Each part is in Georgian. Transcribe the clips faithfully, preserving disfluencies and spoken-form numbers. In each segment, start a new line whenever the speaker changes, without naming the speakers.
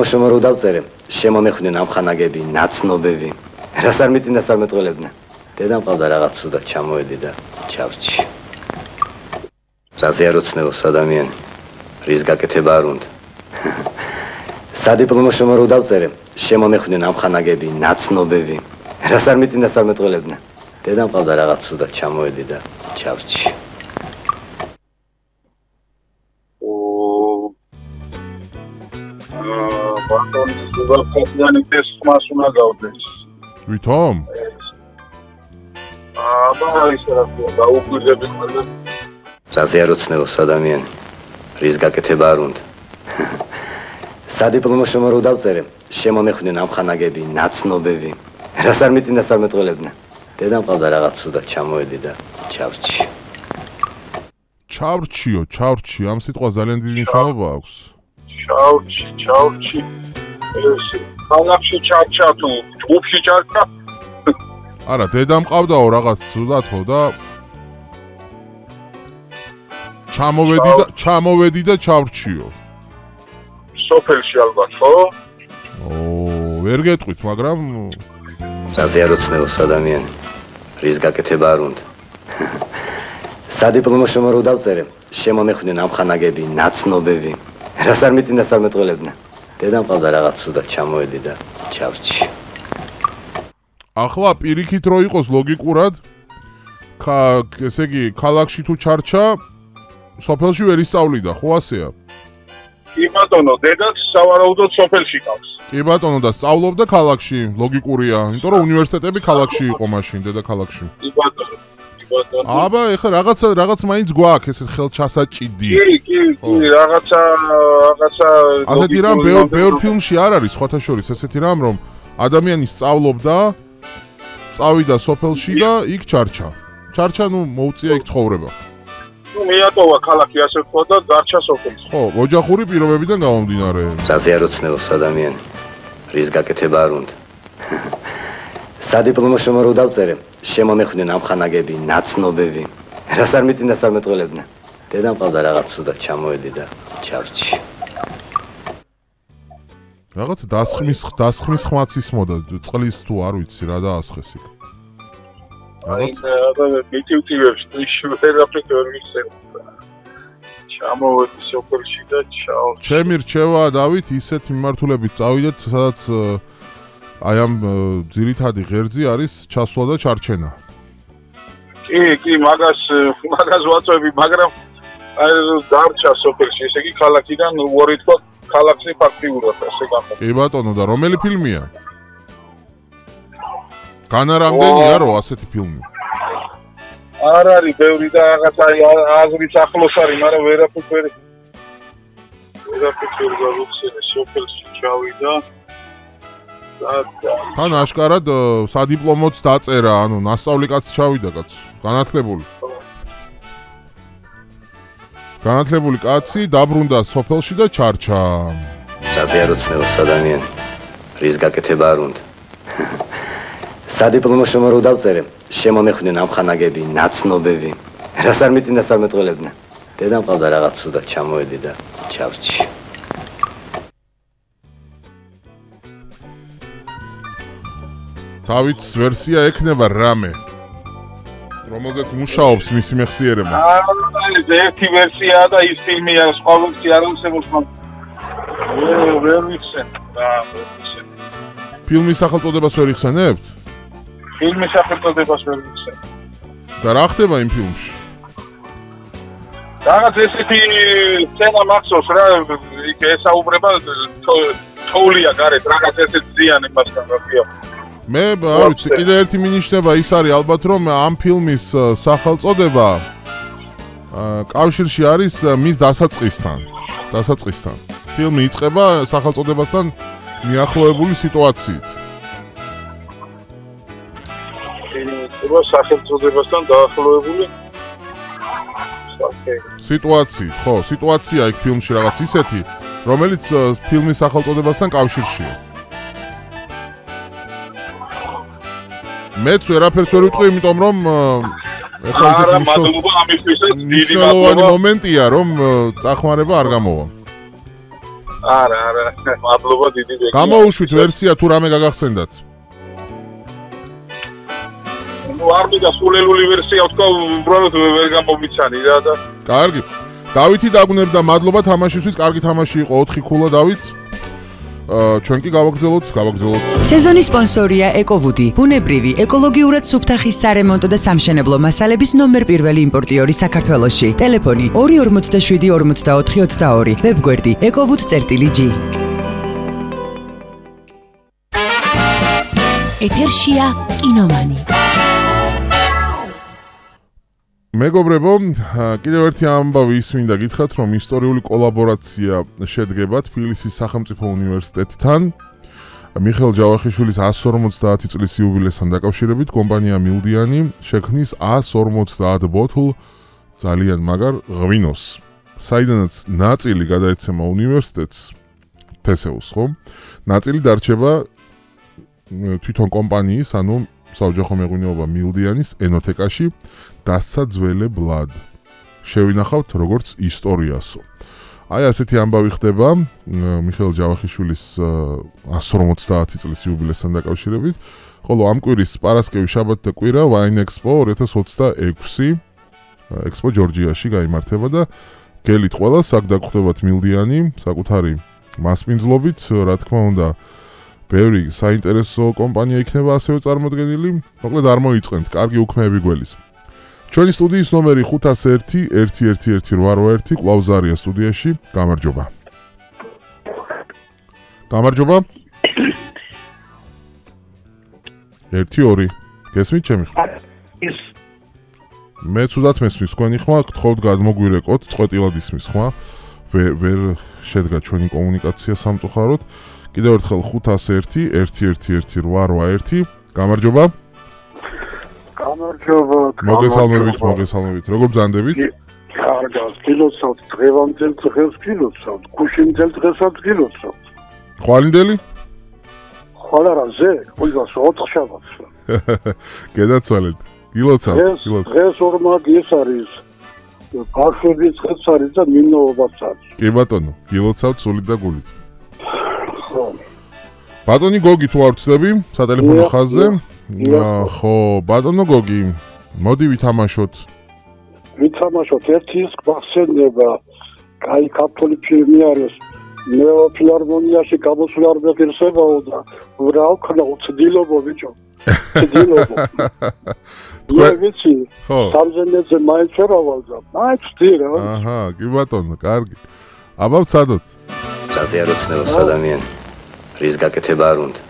პლომოშომა რო დავწერე, შემომეხვდნენ ამხანაგები, ნაცნობები. რას არ მიწინდა სამეთყოლებდნენ. დედამ ყავდა რაღაც სუდად ჩამოედი და ჩავრჩი. რაზე არ ოცნებობს ადამიანი, რის გაკეთება არ უნდა. სადიპლომო შრომა რო დავწერე, შემომეხვდნენ ამხანაგები, ნაცნობები. რას არ მიწინდა სამეთყოლებდნენ. დედამ ყავდა რაღაც სუდად ჩამოედი და ჩავრჩი.
ბატონი ზოგადად ეს ხმას უნდა გავდეს.
ვითომ?
აბა ისე რა ქვია, დაუგვირდები ხოლმე.
რაზე არ ოცნებობს ადამიანი, რის გაკეთება არ უნდა. სადიპლომო შრომა რო დავწერე, შემომეხვდნენ ამხანაგები, ნაცნობები. რას არ მიწინდა სამეთყოლებდნენ. დედამ ყავდა რაღაც სუდად ჩამოედი და ჩავრჩი.
ჩავრჩიო, ჩავრჩი, ამ სიტყვა ძალიან დიდი მნიშვნელობა აქვს.
ჩავრჩი, ჩავრჩი. ეს ქალაქში ჩარჩა თუ ჯგუფში ჩარჩა?
არა, დედამ ყავდაო რაღაც სუდათო და ჩამოვედი და ჩამოვედი და ჩავრჩიო.
სოფელში ალბათ, ხო?
ო, ვერ გეტყვით, მაგრამ
რაზე არ ოცნებობს ადამიანი, რის გაკეთება არ უნდა. სადიპლომო შრომა რო დავწერე, შემომეხვდნენ ამხანაგები, ნაცნობები. რას არ მიწინდა სამეთყოლებდნენ. დედამ ყავდა რაღაც სუდად ჩამოედი და ჩავრჩი.
ახლა პირიქით რო იყოს ლოგიკურად, ესე იგი, ქალაქში თუ ჩარჩა, სოფელში ვერ ისწავლიდა, ხო ასეა?
კი ბატონო, დედაც სავარაუდოდ სოფელში ყავს.
კი ბატონო, და სწავლობდა ქალაქში, ლოგიკურია, იმიტომ რომ უნივერსიტეტები ქალაქში იყო მაშინ, დედაქალაქში.
კი ბატონო, კი ბატონო.
აბა, ეხლა რაღაცა რაღაც მაინც გვაქვს, ესეთ ხელჩასაჭიდი.
კი, კი, კი, რაღაცა, რაღაცა
ასეთი რამ ბევრ ბევრ ფილმში არ არის, სხვათა შორის ესეთი რამ, რომ ადამიანი სწავლობდა, წავიდა სოფელში და იქ ჩარჩა. ჩარჩა, ნუ მოუწია იქ ცხოვრება.
ნუ მიატოვა ქალაქი ასე თქვა და დარჩა სოფელში.
ხო, ოჯახური პირობებიდან გამომდინარე.
რაზე არ ოცნებობს ადამიანი, რის გაკეთება არ უნდა. სადიპლომო შრომა რო დავწერე, შემომეხვდნენ ამხანაგები, ნაცნობები. რას არ მიწინდა სამეთყოლებდნენ. დედამ ყავდა რაღაც სუდად ჩამოედი და ჩავრჩი.
რაღაც დასხმის დასხმის ხმაც ისმოდა, წყლის თუ არ ვიცი რა დაასხეს იქ.
აი, და მიტივტივებს ვერაფრით ვერ ვიცემ. ჩამოვედი სოფელში და ჩაო.
ჩემი რჩევა დავით ისეთ მიმართულებით წავიდეთ, სადაც აი ამ ძირითადი ღერძი არის ჩასვლა და ჩარჩენა.
კი, კი, მაგას მაგას ვაწვევი, მაგრამ აი დარჩა სოფელში, ესე იგი ქალაქიდან უარი თქვა ქალაქში ფაქტიურად ასე გამოდგა.
კი ბატონო, და რომელი ფილმია? განარამდენია რო ასეთი ფილმი.
არ არის ბევრი და რაღაც აი აზრის ახლოს არის, მაგრამ ვერაფრით ვერ ვერაფრით ვერ გავიხსენე, სოფელში ჩავიდა და
თან აშკარად სადიპლომოც დაწერა, ანუ ნასწავლი კაცი ჩავიდა კაც, განათლებული. განათლებული კაცი დაბრუნდა სოფელში და ჩარჩა.
რაზე არ ოცნებობს ადამიანი, რის გაკეთება არ უნდა. სადიპლომო შრომა რო დავწერე, შემომეხვდნენ ამხანაგები, ნაცნობები. რას არ მიწინდა სამეთყოლებდნენ. დედამ ყავდა რაღაც სუდად ჩამოედი და ჩავრჩი.
დავითს ვერსია ექნება რამე, რომელზეც მუშაობს მისი მეხსიერება.
აი, ერთი ვერსიაა და ის ფილმია, სხვა ვერსია არ არსებობს, მაგრამ ვერ ვიცენ. რა, ვერ ვიცენ.
ფილმის სახელწოდებას ვერ იხსენებთ?
ფილმის სახელწოდებას ვერ ვიცენ.
და რა ხდება იმ ფილმში?
რაღაც ესეთი სცენა მახსოვს რა, იქ ესაუბრება თოვლია გარეთ, რაღაც ესეთი ზიანი მასთან რაფია.
მე არ ვიცი, კიდე ერთი მინიშნება ის არის ალბათ, რომ ამ ფილმის სახელწოდება კავშირში არის მის დასაწყისთან. დასაწყისთან. ფილმი იწყება სახელწოდებასთან მიახლოებული სიტუაციით.
იყო სახელწოდებასთან დაახლოებული
სიტუაციით, ხო, სიტუაცია იქ ფილმში რაღაც ისეთი, რომელიც ფილმის სახელწოდებასთან კავშირშია. მეც ვერაფერს ვერ ვიტყვი, იმიტომ რომ ეხლა
არა, მადლობა ამისთვისაც, დიდი მადლობა.
მომენტია, რომ წახმარება არ გამოვა.
არა, არა, მადლობა დიდი ბეგი.
გამოუშვით ვერსია თუ რამე გაგახსენდათ.
ნუ არ მიდა სულელული ვერსია ვთქვა, უბრალოდ ვერ გამომიცანი რა და.
კარგი. დავითი დაგუნებდა, მადლობა თამაშისთვის, კარგი თამაში იყო, ოთხი ქულა დავით. აა ჩვენ კი გავაგზავნოთ, გავაგზავნოთ.
სეზონის სპონსორია ეკოვუდი, ბუნებრივი, ეკოლოგიურად სუფთახის სარემონტო და სამშენებლო მასალების ნომერ პირველი იმპორტიორი საქართველოში. ტელეფონი ორი ორმოცდაშვიდი ორმოცდაოთხი ოცდაორი, ვებგვერდი ეკოვუდ.gi. ეთერშია კინომანი.
მეგობრებო, კიდევ ერთი ამბავი ისმინდა გითხრათ, რომ ისტორიული კოლაბორაცია შედგება თბილისის სახელმწიფო უნივერსიტეტთან. მიხეილ ჯავახიშვილის εκατს ორმოცდაათი წლის იუბილესთან დაკავშირებით კომპანია მილდიანი შექმნის εκατს ორმოცდაათ ბოთლ ძალიან მაგარ ღვინოს, საიდანაც ნაწილი გადაეცემა უნივერსიტეტს თესეუს, ხო? ნაწილი დარჩება თვითონ კომპანიის, ანუ საოჯახო მეღვინეობა მილდიანის ენოთეკაში დასაძველებლად. შევინახავთ როგორც ისტორიასო. აი ასეთი ამბავი ხდება მიხეილ ჯავახიშვილის εκατს ორმოცდაათი წლის იუბილესთან დაკავშირებით, ხოლო ამ კვირის პარასკევი, შაბათი და კვირა Wine Expo ორი ათას ოცდაექვსი Expo ჯორჯიაში გაიმართება და გელით ყველას აქ დაგხვდებათ მილდიანი საკუთარი მასპინძლობით, რა თქმა უნდა ბევრი საინტერესო კომპანია იქნება ასევე წარმოდგენილი. მოკლედ არ მოიწყენთ, კარგი უქმეები გველის. ჩვენი სტუდიის ნომერი ხუთას ერთი ერთი ერთი ერთი რვა ერთი კვლავ ზარია სტუდიაში. გამარჯობა. გამარჯობა. ერთი ორი. გესმით ჩემი ხმა? მე ცუდად მესმის თქვენი ხმა, გთხოვთ გადმოგვირეკოთ, წყვეტილად ისმის ხმა. ვერ ვერ შედგა ჩვენი კომუნიკაცია სამწუხაროდ. კიდევ ერთხელ ხუთას ერთი ერთი ერთი ერთი რვა ერთი. გამარჯობა.
გამარჯობა.
მოგესალმებით, მოგესალმებით. როგორ ბრძანდებით?
კარგად, გილოცავთ დღევანდელ დღეს გილოცავთ, გუშინდელ დღესაც გილოცავთ.
ხვალინდელი?
ხვალ არა ზე, ყველას ოთხ შაბათს.
გედაცვალეთ. გილოცავთ, გილოცავთ.
დღეს ორმაგი ეს არის. ბავშვების დღეც არის და მინოობაც არის.
კი ბატონო, გილოცავთ სულით და გულით. ბატონი გოგი თუ არ ვწდები სატელეფონო ხაზზე. ხო, ბატონო გოგი, მოდი ვითამაშოთ.
ვითამაშოთ ერთი ის გვახსენდება, კაი ქართული ფილმი არის. ნეოფილარმონიაში გამოსვლა არ მეგირსებაო და რა ვქნა უცდილობო ბიჭო. უცდილობო. მე ვიცი.
ხო.
სამზენეზე მაინც ვერ ავალდა. მაინც ვთირა.
აჰა, კი ბატონო, კარგი. აბა ვცადოთ.
რაზე არ ოცნებობს ადამიანი? რის გაკეთება არ უნდა.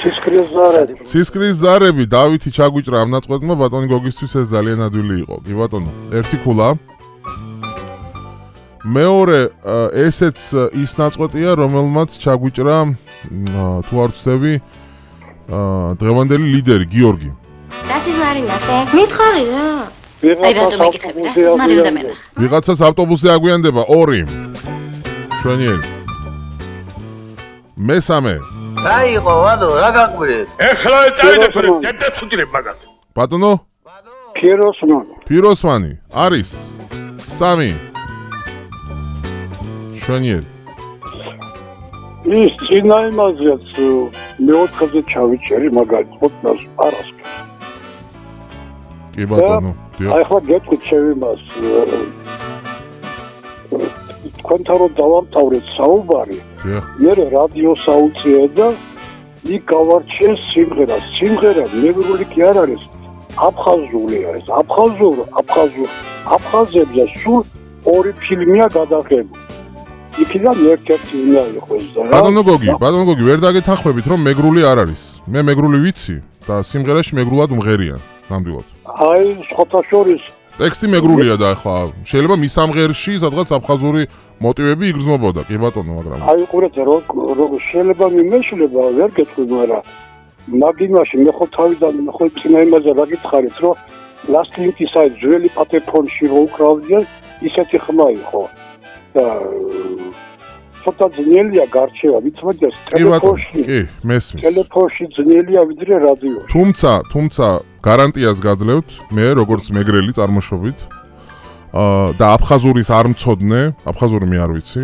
ცისკრის ზარები.
ცისკრის ზარები, დავითი ჩაგვიჭრა ამ ნაწყვეტმა, ბატონი გოგისთვის ეს ძალიან ადვილი იყო. კი ბატონო, ერთი ქულა. მეორე ესეც ის ნაწყვეტია, რომელმაც ჩაგვიჭრა თუ არ ვცდები დღევანდელი ლიდერი გიორგი.
რასის მარინახე? მითხარი რა. აი რატომ მეკითხები? რასის მარინდა მე?
ვიღაცას ავტობუსზე აგვიანდება ორი. შვენიერი. მესამე.
დაიღო, ვადო, რა გაყვირეთ?
ეხლა წაიდეთ, დედაცუდირებ მაგათ.
ბატონო?
ფიროსმანი.
ფიროსმანი არის სამი. შვენიერი.
ის წინა იმაზეც მეოთხეზე ჩავიჭერი მაგალითად ყოფნას პარასკევს.
კი ბატონო.
აი ხლა გეტყვით შევიმას თქვენთან რომ დავამთავრეთ საუბარი, მე რადიოს აუწია და იქ გავარჩიე სიმღერა. სიმღერა მეგრული კი არ არის, აფხაზურია ეს. აფხაზურ, აფხაზურ, აფხაზებზე სულ ორი ფილმია გადაღებული. იქიდან ერთ-ერთი უნდა იყოს და რა.
ბატონო გოგი, ბატონო გოგი, ვერ დაგეთანხმებით რომ მეგრული არ არის. მე მეგრული ვიცი და სიმღერაში მეგრულად უმღერიან, ნამდვილად.
აი, სხვათა შორის
ტექსტი მეგრულია და ახლა შეიძლება მის სამღერში სადღაც აფხაზური მოტივები იგრძნობოდა, კი ბატონო, მაგრამ
აი ყურეთ რომ შეიძლება მიმეშლება ვერ გეტყვი, მაგრამ მაგინაში მე ხო თავიდან მე ხო წინა იმაზე დაგითხარით რომ ლასტინკის აი ძველი პატეფონში რო უკრავდნენ ისეთი ხმა იყო და ცოტა ძნელია გარჩევა, ვიცოდეს ტელეფონში.
კი, მესმის.
ტელეფონში ძნელია ვიდრე რადიოში.
თუმცა, თუმცა გარანტიას გაძლევთ, მე როგორც მეგრელი წარმოშობით, აა და აფხაზურის არ მწოდნე, აფხაზური მე არ ვიცი.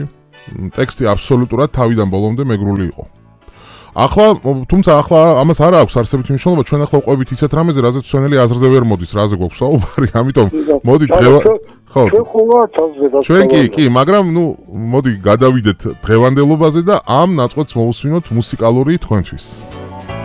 ტექსტი აბსოლუტურად თავიდან ბოლომდე მეგრული იყო. ახლა, თუმცა ახლა ამას არ აქვს არსებითი მნიშვნელობა, ჩვენ ახლა ვყვებით ისეთ რამეზე, რაზეც ჩვენელი აზრზე ვერ მოდის, რაზე გვაქვს საუბარი, ამიტომ მოდი დღევა ხო.
ჩვენ ხოვა თავს
ჩვენ კი, კი, მაგრამ ნუ მოდი გადავიდეთ დღევანდელობაზე და ამ ნაწყვეტს მოусვინოთ მუსიკალური თქვენთვის.